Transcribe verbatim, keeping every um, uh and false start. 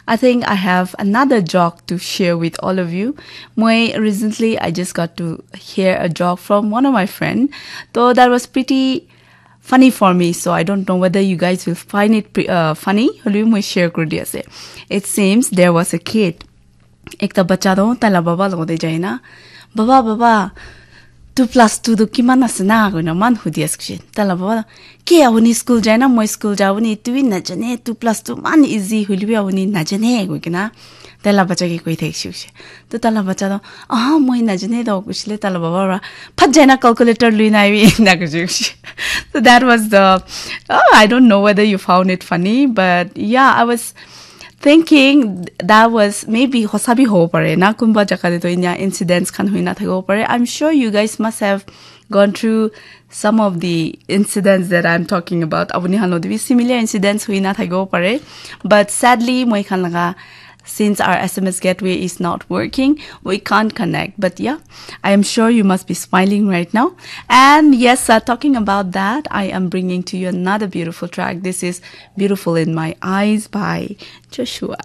I think I have another joke to share with all of you. Moi recently, I just got to hear a joke from one of my friend. Though that was pretty funny for me, so I don't know whether you guys will find it pre- uh, funny. Hoilebi moi share kuri di ase. It seems there was a kid. Ekta bacha toh tai la baba logote jai na, "Baba, baba, two plus two toh kiman ase na?" koina man hudi ase kishe. Tai la baba, "Ke apuni school jai na? Moi school jabo ni, etu bi najane, two plus two man easy hoilebi apuni najane," koi kena tai la bacha ke koi thakishe kishe. To tai la bacha toh, "Aha, moi najane toh," kushile tai la baba ra, "Phat jai na calculator lui na aibi," na kuishe kishe. So that was the, oh, I don't know whether you found it funny, but yeah, I was thinking that was maybe hosa bi hobo pare na, kunba jaga te toh inya incidents khan hoina thakibo pare. I'm sure you guys must have gone through some of the incidents that I'm talking about. Apuni khan lo bi similar incidents hoina thakibo pare. But sadly, moi khan laga, since our S M S gateway is not working, we can't connect. But yeah, I am sure you must be smiling right now. And yes, uh, talking about that, I am bringing to you another beautiful track. This is Beautiful in My Eyes by Joshua.